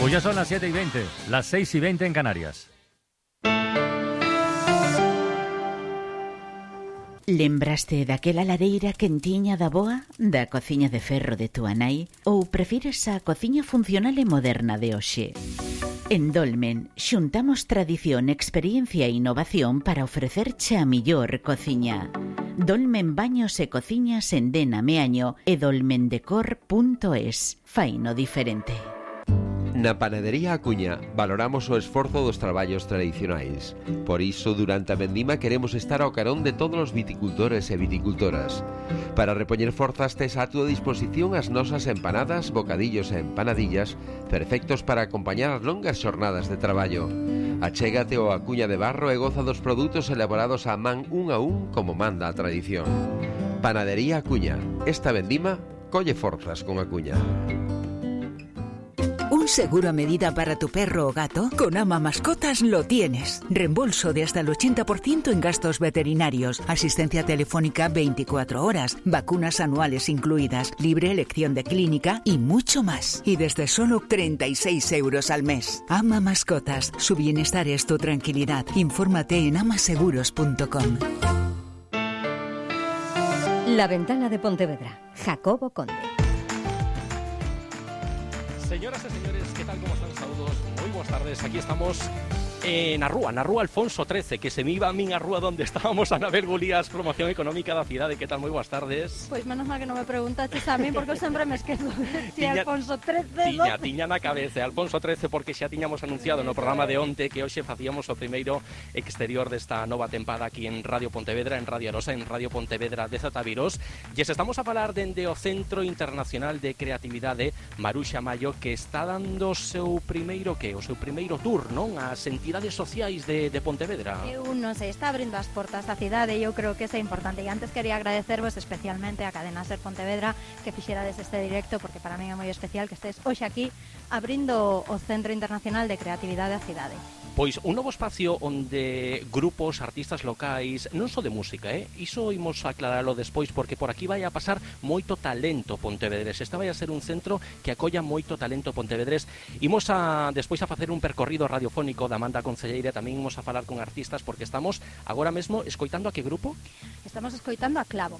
Pues ya son las 7:20, las 6:20 en Canarias. Lembraste daquela lareira quentiña da boa, da cociña de ferro de túa nai, ou prefires a cociña funcional e moderna de hoxe? En Dolmen xuntamos tradición, experiencia e innovación para ofrecerche a millor cociña. Dolmen Baños e Cociñas en Dena Meaño e dolmendecor.es. Faino diferente. Na Panadería Acuña valoramos o esforzo dos traballos tradicionais. Por iso, durante a vendima queremos estar ao carón de todos os viticultores e viticultoras. Para repoñer forzas tes a túa disposición as nosas empanadas, bocadillos e empanadillas, perfectos para acompañar as longas xornadas de traballo. Achégate ao Acuña de Barro e goza dos produtos elaborados a man un a un como manda a tradición. Panadería Acuña. Esta vendima colle forzas con Acuña. ¿Un seguro a medida para tu perro o gato? Con Ama Mascotas lo tienes. Reembolso de hasta el 80% en gastos veterinarios, asistencia telefónica 24 horas, vacunas anuales incluidas, libre elección de clínica y mucho más. Y desde solo 36 euros al mes. Ama Mascotas. Su bienestar es tu tranquilidad. Infórmate en amaseguros.com. La Ventana de Pontevedra. Jacobo Conde. Señoras y señores, ¿qué tal? ¿Cómo están? Saludos, muy buenas tardes. Aquí estamos en Arrúa Alfonso XIII, que se me iba a min Arrúa donde estábamos, Ana Bergulías, promoción económica da cidade. ¿Qué tal? Muy buenas tardes. Pois menos mal que non me preguntaste a mí, porque eu sempre me esquezo de si Alfonso XIII. Tiña na cabeza Alfonso XIII, porque xa tiñamos anunciado no programa de onte que hoxe facíamos o primeiro exterior desta nova tempada aquí en Radio Pontevedra, en Radio Arosa, en Radio Pontevedra de Zataviros. E se estamos a falar dende o Centro Internacional de Creatividade Maruxa Maio, que está dando o seu primeiro tour, non? As entidades sociais de Pontevedra. Eu non sei, está abrindo as portas da cidade e eu creo que é importante. E antes quería agradecervos especialmente a Cadena Ser Pontevedra que fixerades este directo, porque para mí é moi especial que estés hoxe aquí abrindo o Centro Internacional de Creatividade da cidade. Pois un novo espacio onde grupos, artistas locais, non só de música, iso imos aclararlo despois, porque por aquí vai a pasar moito talento pontevedrés. Este vai a ser un centro que acolla moito talento pontevedrés. Imos despois a facer un percorrido radiofónico da Amanda Concelleira, tamén imos a falar con artistas, porque estamos agora mesmo escoitando a que grupo? Estamos escoitando a Clavo.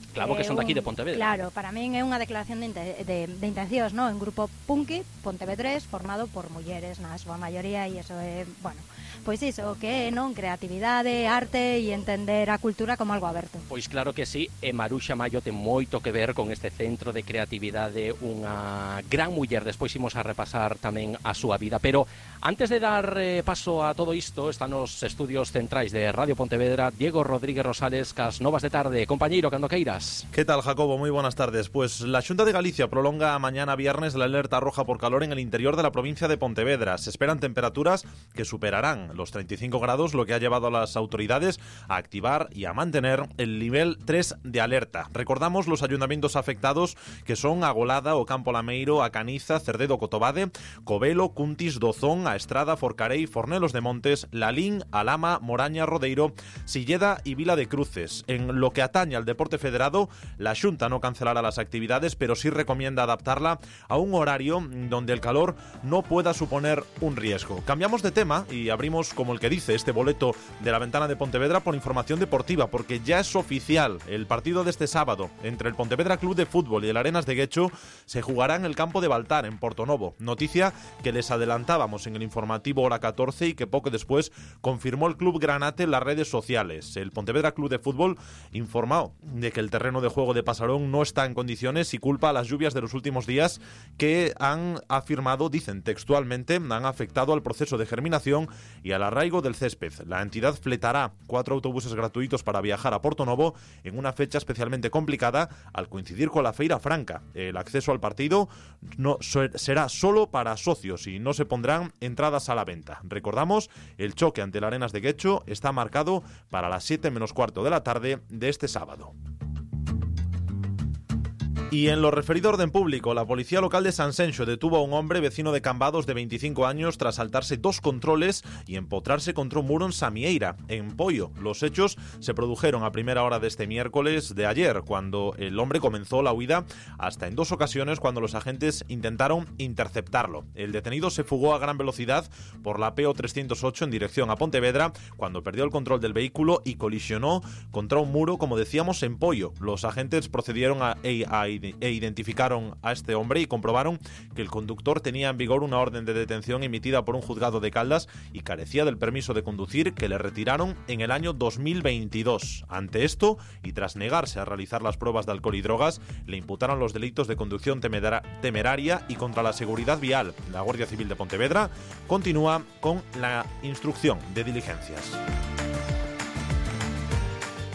Claro, que son daqui de Pontevedra. Claro, para min é unha declaración de intencións, non? Un grupo punky pontevedrés formado por mulleres na súa maioría, e iso é, bueno, pois iso que é, non? Creatividade, arte e entender a cultura como algo aberto. Pois claro que sí, e Maruxa Maio ten moito que ver con este centro de creatividade, unha gran muller. Despois imos a repasar tamén a súa vida, pero antes de dar paso a todo isto, están os estudios centrais de Radio Pontevedra Diego Rodríguez Rosales, cas novas de tarde. Compañeiro, cando queiras. ¿Qué tal, Jacobo? Muy buenas tardes. Pues la Xunta de Galicia prolonga mañana viernes la alerta roja por calor en el interior de la provincia de Pontevedra. Se esperan temperaturas que superarán los 35 grados, lo que ha llevado a las autoridades a activar y a mantener el nivel 3 de alerta. Recordamos los ayuntamientos afectados, que son Agolada, Ocampo Lameiro, A Caniza, Cerdedo, Cotobade, Covelo, Cuntis, Dozón, A Estrada, Forcarei, Fornelos de Montes, Lalín, Alama, Moraña, Rodeiro, Silleda y Vila de Cruces. En lo que atañe al deporte federado, la Xunta no cancelará las actividades, pero sí recomienda adaptarla a un horario donde el calor no pueda suponer un riesgo. Cambiamos de tema y abrimos, como el que dice este boleto de la Ventana de Pontevedra, por información deportiva, porque ya es oficial. El partido de este sábado entre el Pontevedra Club de Fútbol y el Arenas de Guecho se jugará en el campo de Baltar, en Portonovo. Noticia que les adelantábamos en el informativo hora 14 y que poco después confirmó el Club Granate en las redes sociales. El Pontevedra Club de Fútbol informó de que el terreno de juego de Pasarón no está en condiciones y culpa a las lluvias de los últimos días, que han afirmado, dicen textualmente, han afectado al proceso de germinación y al arraigo del césped. La entidad fletará 4 autobuses gratuitos para viajar a Portonovo en una fecha especialmente complicada al coincidir con la Feira Franca. El acceso al partido será solo para socios y no se pondrán entradas a la venta. Recordamos, el choque ante el Arenas de Guecho está marcado para las 7 menos cuarto de la tarde de este sábado. Y en lo referido a orden público, la policía local de Sanxenxo detuvo a un hombre vecino de Cambados de 25 años tras saltarse 2 controles y empotrarse contra un muro en Samieira, en Poio. Los hechos se produjeron a primera hora de este miércoles de ayer, cuando el hombre comenzó la huida, hasta en 2 ocasiones cuando los agentes intentaron interceptarlo. El detenido se fugó a gran velocidad por la PO 308 en dirección a Pontevedra, cuando perdió el control del vehículo y colisionó contra un muro, como decíamos, en Poio. Los agentes procedieron e identificaron a este hombre y comprobaron que el conductor tenía en vigor una orden de detención emitida por un juzgado de Caldas y carecía del permiso de conducir que le retiraron en el año 2022. Ante esto, y tras negarse a realizar las pruebas de alcohol y drogas, le imputaron los delitos de conducción temeraria y contra la seguridad vial. La Guardia Civil de Pontevedra continúa con la instrucción de diligencias.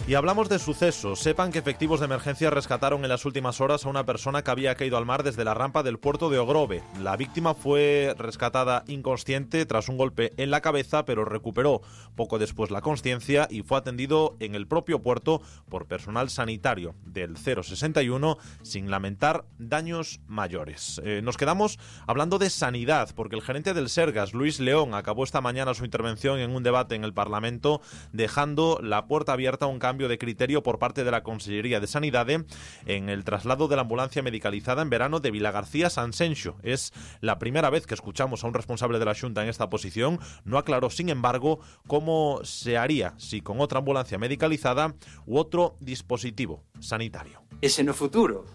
Y hablamos de sucesos. Sepan que efectivos de emergencia rescataron en las últimas horas a una persona que había caído al mar desde la rampa del puerto de Ogrove. La víctima fue rescatada inconsciente tras un golpe en la cabeza, pero recuperó poco después la consciencia y fue atendido en el propio puerto por personal sanitario del 061 sin lamentar daños mayores. Nos quedamos hablando de sanidad, porque el gerente del Sergas, Luis León, acabó esta mañana su intervención en un debate en el Parlamento, dejando la puerta abierta a un cambio de criterio por parte de la Consellería de Sanidad en el traslado de la ambulancia medicalizada en verano de Vilagarcía a Sanxenxo. Es la primera vez que escuchamos a un responsable de la Xunta en esta posición. No aclaró, sin embargo, cómo se haría, si con otra ambulancia medicalizada u otro dispositivo sanitario. Ese no futuro,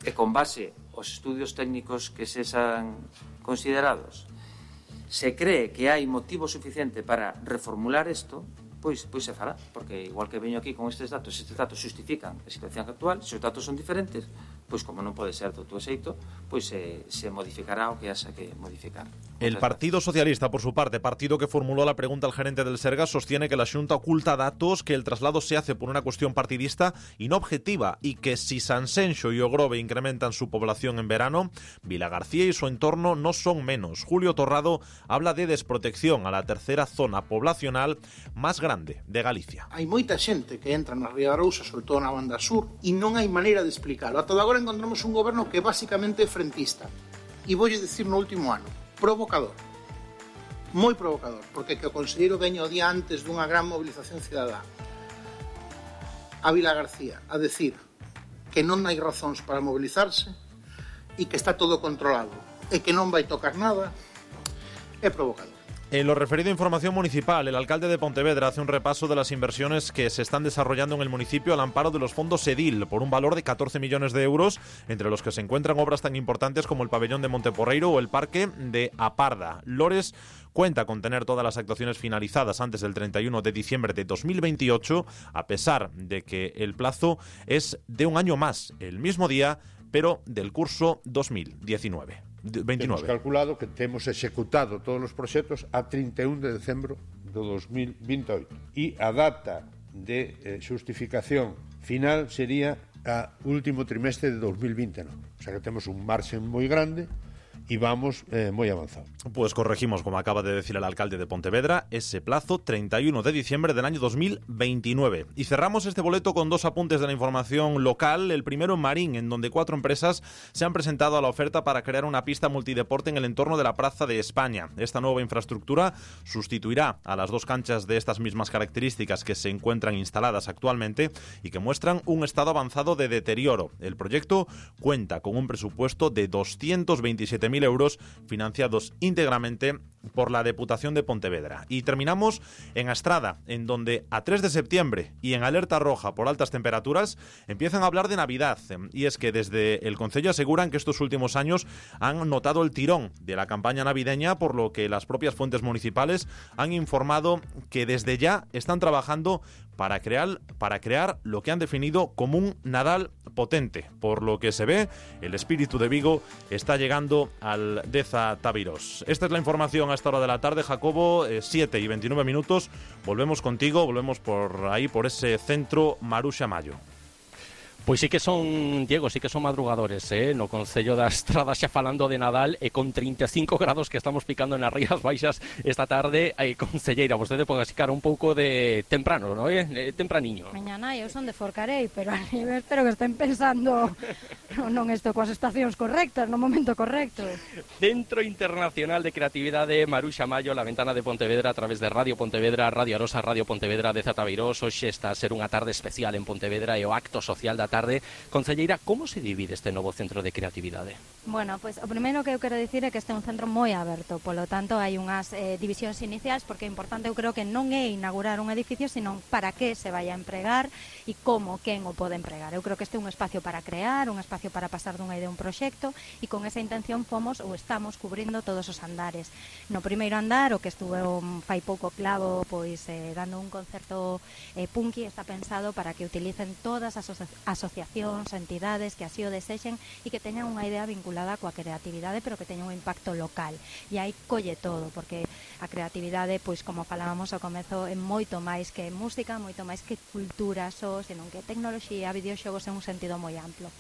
e con base aos estudios técnicos que se han considerados, se cree que hai motivo suficiente para reformular isto, pois se fará, porque igual que veño aquí con estes datos xustifican a situación actual, se os datos son diferentes, pois como non pode ser do xeito, pois se modificará o que haxa que modificar. El Partido Socialista, por su parte, partido que formuló la pregunta al gerente del Sergas, sostiene que la Xunta oculta datos, que el traslado se hace por una cuestión partidista y no objetiva, y que si Sanxenxo y Ogrove incrementan su población en verano, Vilagarcía y su entorno no son menos. Julio Torrado habla de desprotección a la tercera zona poblacional más grande de Galicia. Hai moita xente que entra na Ría Arousa, sobre todo na banda sur, e non hai maneira de explicarlo. Ata agora encontramos un goberno que é basicamente frentista. E voulle dicir no último ano, provocador. Moi provocador, porque que o conselleiro veña o día antes dunha gran movilización cidadá a Vilagarcía a decir que non hai razóns para mobilizarse e que está todo controlado e que non vai tocar nada, é provocador. En lo referido a información municipal, el alcalde de Pontevedra hace un repaso de las inversiones que se están desarrollando en el municipio al amparo de los fondos EDIL, por un valor de 14 millones de euros, entre los que se encuentran obras tan importantes como el pabellón de Monteporreiro o el parque de Aparda. Lores cuenta con tener todas las actuaciones finalizadas antes del 31 de diciembre de 2028, a pesar de que el plazo es de un año más, el mismo día, pero del curso 2019. 29. Temos calculado que temos executado todos os proxectos a 31 de decembro do 2028 e a data de xustificación final sería a último trimestre de 2029. O sea que temos un marxen moi grande y vamos muy avanzado. Pues corregimos, como acaba de decir el alcalde de Pontevedra, ese plazo 31 de diciembre del año 2029. Y cerramos este boleto con 2 apuntes de la información local. El primero en Marín, en donde 4 empresas se han presentado a la oferta para crear una pista multideporte en el entorno de la Plaza de España. Esta nueva infraestructura sustituirá a las 2 canchas de estas mismas características que se encuentran instaladas actualmente y que muestran un estado avanzado de deterioro. El proyecto cuenta con un presupuesto de 227.000 euros financiados íntegramente por la Deputación de Pontevedra. Y terminamos en Astrada, en donde a 3 de septiembre y en alerta roja por altas temperaturas empiezan a hablar de Navidad. Y es que desde el concello aseguran que estos últimos años han notado el tirón de la campaña navideña, por lo que las propias fuentes municipales han informado que desde ya están trabajando para crear lo que han definido como un Nadal potente. Por lo que se ve, el espíritu de Vigo está llegando al Deza Tavirós. Esta es la información a esta hora de la tarde, Jacobo, 7 y 29 minutos. Volvemos contigo, volvemos por ahí, por ese centro Maruxa Mayo. Pois sí que son, Diego, sí que son madrugadores, no Concello da Estrada xa falando de Nadal e con 35 grados que estamos picando nas Rías Baixas esta tarde. Concelleira, vostede pode asicar un pouco de temprano, non é? Tempraniño. Mañana eu son de Forcarei, pero a nivel espero que estén pensando non isto coas estacións correctas, no momento correcto. Centro Internacional de Creatividade Maruxa Mayo, la ventana de Pontevedra a través de Radio Pontevedra, Radio Arosa, Radio Pontevedra de Zatavirós. Hoxe está a ser unha tarde especial en Pontevedra e o acto social da tarde. Concelleira, como se divide este novo centro de creatividade? Bueno, pues o primeiro que eu quero dicir é que este é un centro moi aberto, polo tanto hai unhas divisións iniciais, porque é importante, eu creo que non é inaugurar un edificio, sino para que se vai a empregar e como, quen o pode empregar. Eu creo que este é un espacio para crear, un espacio para pasar dunha idea a un proxecto, e con esa intención fomos ou estamos cubrindo todos os andares. No primeiro andar, o que estuve fai pouco Clavo, pois dando un concerto punky, está pensado para que utilicen todas as asociacións, entidades que así o desexen e que teñan unha idea vinculada coa creatividade, pero que teña un impacto local. E aí colle todo, porque a creatividade, pois como falábamos ao comezo, é moito máis que música, moito máis que cultura só, senón que tecnoloxía, videoxogos en un sentido moi amplo.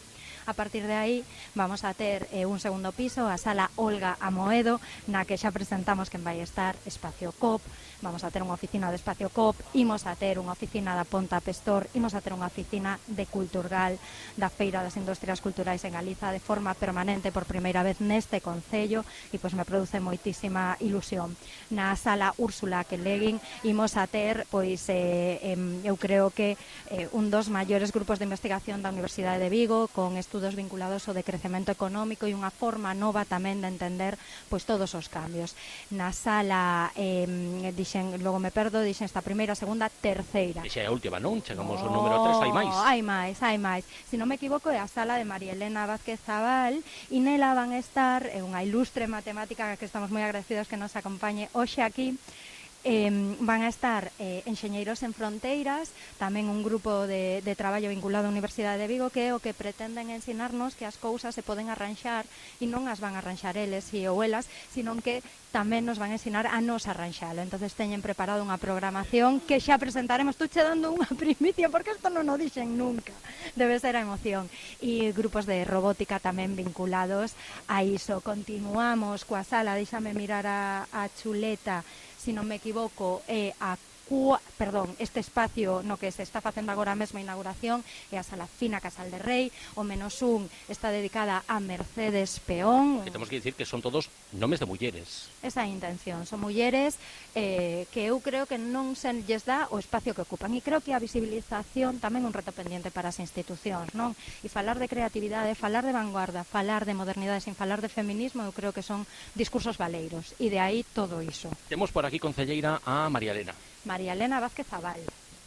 A partir de aí vamos a ter un segundo piso, a sala Olga Amoedo, na que xa presentamos quen vai estar Espacio COP. Vamos a ter unha oficina de Espacio COP, imos a ter unha oficina da Ponta Pestor, imos a ter unha oficina de Culturgal, da Feira das Industrias Culturais en Galiza, de forma permanente por primeira vez neste concello, e pois me produce moitísima ilusión. Na sala Úrsula Quelegin imos a ter, pois eu creo que un dos maiores grupos de investigación da Universidade de Vigo, con estudos vinculados ao decrecemento económico e unha forma nova tamén de entender pois todos os cambios. Na sala logo me perdo, dixen esta primeira, segunda, terceira. Dixe a última, non? Chegamos ao número 3, hai máis. Hai máis. Se non me equivoco, é a sala de María Elena Vázquez Zabal, e nela van estar unha ilustre matemática que estamos moi agradecidos que nos acompañe hoxe aquí. Van a estar Enxeñeiros en Fronteiras, tamén un grupo de traballo vinculado á Universidade de Vigo, que é o que pretenden ensinarnos que as cousas se poden arranxar, e non as van a arranxar eles ou elas, sino que tamén nos van a ensinar a nos arranxalo. Entonces teñen preparado unha programación que xa presentaremos. Estou che dando unha primicia, porque isto non o dixen nunca. Debe ser a emoción. E grupos de robótica tamén vinculados a iso. Continuamos coa sala, déxame mirar a chuleta, se non me equivoco, este espacio no que se está facendo agora mesmo a inauguración é a Sala Fina Casal de Rei. O -1 está dedicada a Mercedes Peón. Que temos que dicir que son todos nomes de mulleres. Esa é a intención, son mulleres que eu creo que non se lles dá o espacio que ocupan, e creo que a visibilización tamén é un reto pendiente para as institucións, non? E falar de creatividade, falar de vanguarda, falar de modernidade sin falar de feminismo, eu creo que son discursos valeiros, e de aí todo iso. Temos por aquí, concelleira, a María Elena. María Elena Vázquez Zabal.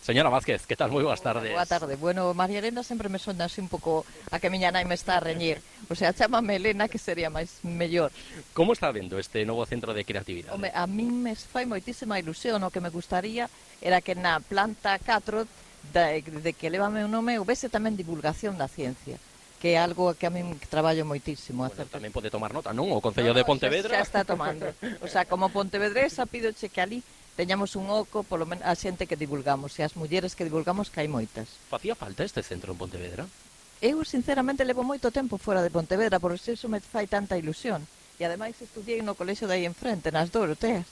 Señora Vázquez, que tal? Moi boas tardes. Boa tarde. Bueno, María Elena sempre me sona así un pouco a que miña nai me está a reñir. O sea, chámame Elena, que sería máis mellor. Como está vendo este novo centro de creatividade? Home, a min me fai moitísima ilusión. O que me gustaría era que na planta 4 de que leva meu nome houvese tamén divulgación da ciencia, que é algo que a min traballo moitísimo. Bueno, tamén pode tomar nota, non? O Concello de Pontevedra. Xa está tomando. O sea, como pontevedresa, pídoche que ali teñamos un oco, polo menos a xente que divulgamos, e as mulleres que divulgamos, que hai moitas. Facía falta este centro en Pontevedra? Eu, sinceramente, levo moito tempo fora de Pontevedra, por eso me fai tanta ilusión. E ademais estudiei no colexio de aí enfrente, nas Doroteas.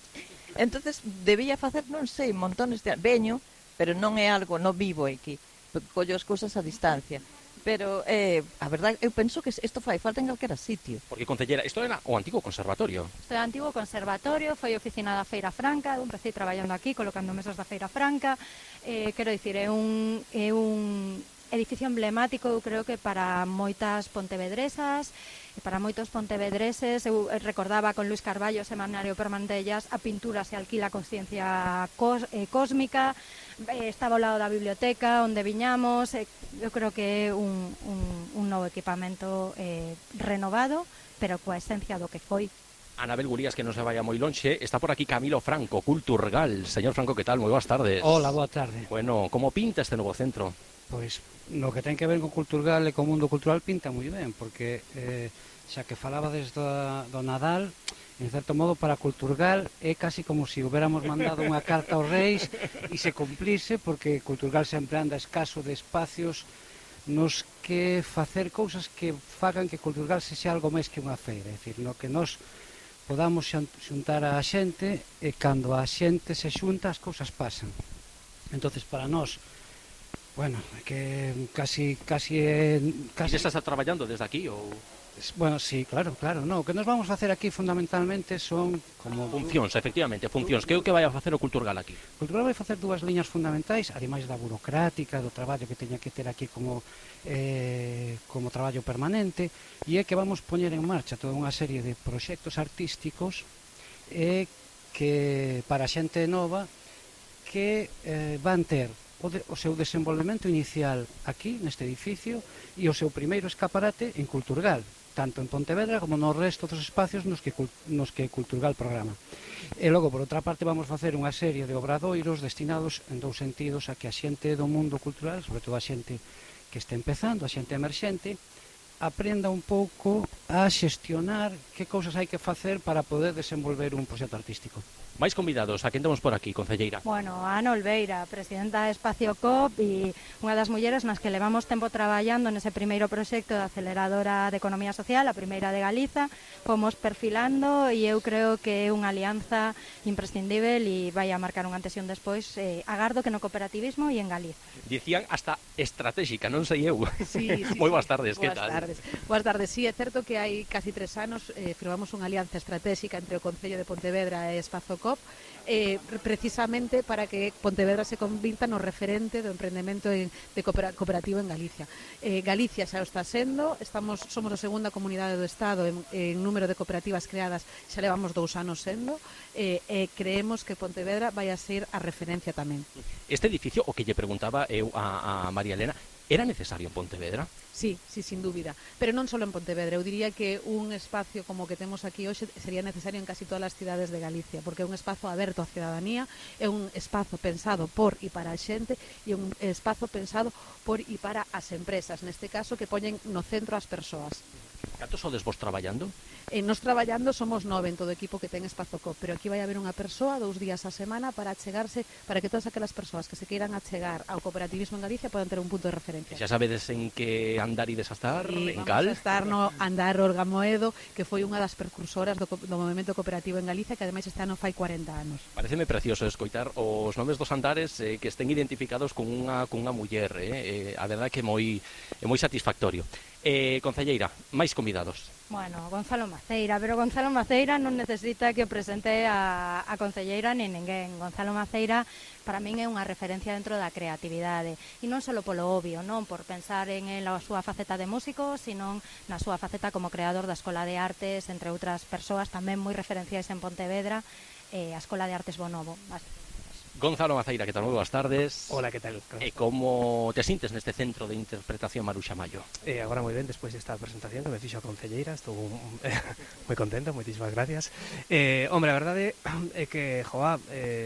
Entonces debía facer, non sei, montones de... Veño, pero non é algo, non vivo aquí. Collo as cousas a distancia. Pero, a verdade, eu penso que isto fai falta en calquera sitio. Porque, concellera, isto era o antigo conservatorio. Isto é o antigo conservatorio, foi oficina da Feira Franca, eu empecé traballando aquí, colocando mesas da Feira Franca. Quero dicir, é un edificio emblemático, eu creo que para moitas pontevedresas, e para moitos pontevedreses. Eu recordaba con Luis Carballo, semanario permanente de jazz, a pintura se alquila con ciencia cósmica. Estaba ao lado da biblioteca onde viñamos. Eu creo que é un novo equipamento renovado, pero coa esencia do que foi. Anabel Gurías, que non se vaya moi lonxe. Está por aquí Camilo Franco, Culturgal. Señor Franco, que tal? Moi boas tardes. Hola, boa tarde. Bueno, como pinta este novo centro? Pois, no que ten que ver con Culturgal e con o mundo cultural pinta moi ben, porque xa que falabades do Nadal, en certo modo para Culturgal é casi como se hubiéramos mandado unha carta aos reis e se cumplise, porque Culturgal sempre anda escaso de espacios nos que facer cousas que fagan que Culturgal sexa algo máis que unha feira, é dicir, no que nos podamos xuntar a xente e cando a xente se xunta as cousas pasan. Entonces para nós, bueno, que casi estás traballando desde aquí ou... Bueno, sí, claro, no, o que nos vamos facer aquí fundamentalmente son como... Funcións, efectivamente, funcións. Que é o que vai a facer o Culturgal aquí? O Culturgal vai facer dúas liñas fundamentais, ademais da burocrática, do traballo que teña que ter aquí como traballo permanente, e é que vamos poñer en marcha toda unha serie de proxectos artísticos que para a xente nova que van ter o seu desenvolvemento inicial aquí, neste edificio, e o seu primeiro escaparate en Culturgal, tanto en Pontevedra como no resto dos espacios nos que Culturgal programa. E logo, por outra parte, vamos facer unha serie de obradoiros destinados en dous sentidos a que a xente do mundo cultural, sobre todo a xente que está empezando, a xente emerxente, aprenda un pouco a xestionar que cousas hai que facer para poder desenvolver un proxecto artístico. Máis convidados, a quen temos por aquí, concelleira? Bueno, a Ana Olveira, presidenta de Espacio COP e unha das mulleres nas que levamos tempo traballando nese primeiro proxecto de aceleradora de economía social, a primeira de Galiza, fomos perfilando e eu creo que é unha alianza imprescindível e vai a marcar un antes e un despois, agardo que no cooperativismo e en Galiza. Dicían hasta estratégica, non sei eu. Sí. Moi boas tardes, que tal? Boas tardes, sí, é certo que hai casi 3 anos firmamos unha alianza estratégica entre o Concello de Pontevedra e Espazo COP, precisamente para que Pontevedra se convirta no referente do emprendemento cooperativo en Galicia. Galicia xa o está sendo, somos a segunda comunidade do Estado en número de cooperativas creadas, xa levamos 2 anos sendo, e creemos que Pontevedra vai a ser a referencia tamén. Este edificio, o que lle preguntaba eu a María Elena, era necesario en Pontevedra? Sí, sin dúbida, pero non só en Pontevedra. Eu diría que un espacio como o que temos aquí hoxe sería necesario en casi todas as cidades de Galicia, porque é un espazo aberto á cidadanía, é un espazo pensado por e para a xente, e un espazo pensado por e para as empresas, neste caso que poñen no centro as persoas. Cantos sodes vos traballando? Nos traballando somos 9 en todo o equipo que ten Espazo COP, pero aquí vai haber unha persoa 2 días a semana para achegarse, para que todas aquelas persoas que se queiran achegar ao cooperativismo en Galicia podan ter un punto de referencia. Xa sabedes en que andar ides a estar? Sí, en Cal? Vamos a estar no Andar Olga Moedo, que foi unha das precursoras do movimento cooperativo en Galicia, que ademais este ano fai 40 anos. Pareceme precioso escoitar os nomes dos andares que estén identificados con unha muller, a verdade que é moi satisfactorio. Concelleira, máis convidados. Bueno, Gonzalo Maceira, pero Gonzalo Maceira non necesita que o presente a concelleira nin ninguén. Gonzalo Maceira para min é unha referencia dentro da creatividade, e non só polo obvio, non por pensar en a súa faceta de músico, sino na súa faceta como creador da Escola de Artes, entre outras persoas tamén moi referenciais en Pontevedra, a Escola de Artes Bonobo. Gonzalo Maceira, que tal? Moi boas tardes. Hola, que tal? E como te sintes neste centro de interpretación Maruxa Mallo? Agora moi ben, despois desta presentación que me fixo a concelleira, estou moi contento, moitísimas gracias. Hombre, a verdade é que,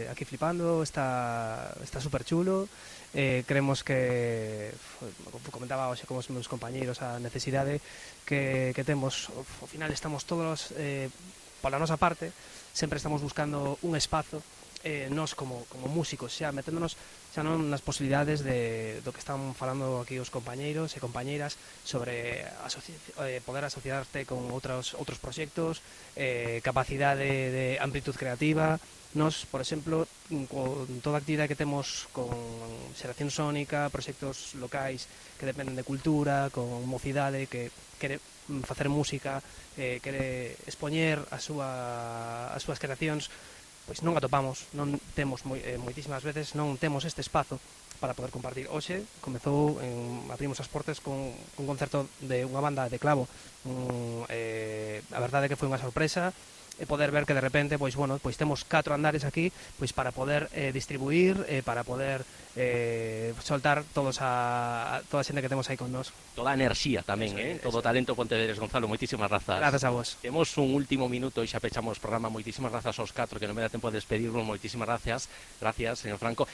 aquí flipando, está super chulo. Creemos que, comentaba hoxe con os meus compañeiros, a necesidade que temos, ao final estamos todos, pola nosa parte, sempre estamos buscando un espazo, nós como músicos, xa meténdonos xa non nas posibilidades do que están falando aquí os compañeiros e compañeiras sobre poder asociarte con outros proxectos, capacidade de amplitud creativa. Nos, por exemplo, con toda a actividade que temos con xeración sónica, proxectos locais que dependen de cultura, con mocidade que quere facer música, quere expoñer as súas creacións, pois non atopamos, non temos moitísimas veces, non temos este espazo para poder compartir. Hoxe comezou, abrimos as portas con un concerto de unha banda de clavo. A verdade é que foi unha sorpresa poder ver que de repente pois temos 4 andares aquí pois para poder distribuir, para poder soltar toda a xente que temos aí con nós. Toda a enerxía tamén, todo o talento pontevedrés. Gonzalo, moitísimas grazas. Grazas a vos. Temos un último minuto e xa pechamos o programa. Moitísimas grazas aos 4, que non me dá tempo de despedirnos. Moitísimas gracias. Gracias, señor Franco.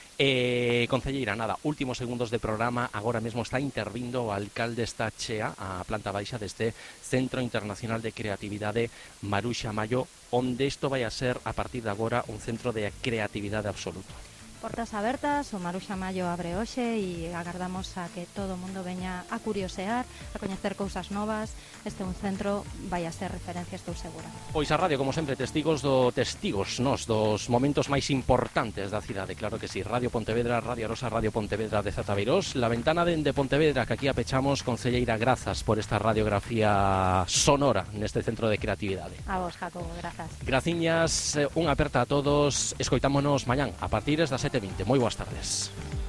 Concelleira, nada, últimos segundos de programa. Agora mesmo está intervindo o alcalde, está chea a planta baixa deste Centro Internacional de Creatividade Maruxa Mallo, onde isto vai a ser, a partir de agora, un centro de creatividade absoluto. Portas abertas, o Maruxa Mayo abre hoxe e agardamos a que todo o mundo veña a curiosear, a coñecer cousas novas. Este é un centro, vai a ser referencia, estou segura. Pois a radio, como sempre, testigos dos momentos máis importantes da cidade, claro que sí. Radio Pontevedra, Radio Arosa, Radio Pontevedra de Zatabeirós, la ventana de Pontevedra que aquí apechamos. Concelleira, grazas por esta radiografía sonora neste centro de creatividade. A vos, Jacobo, grazas. Graciñas, unha aperta a todos, escoitámonos mañán a partir das 7:20. Moi boas tardes.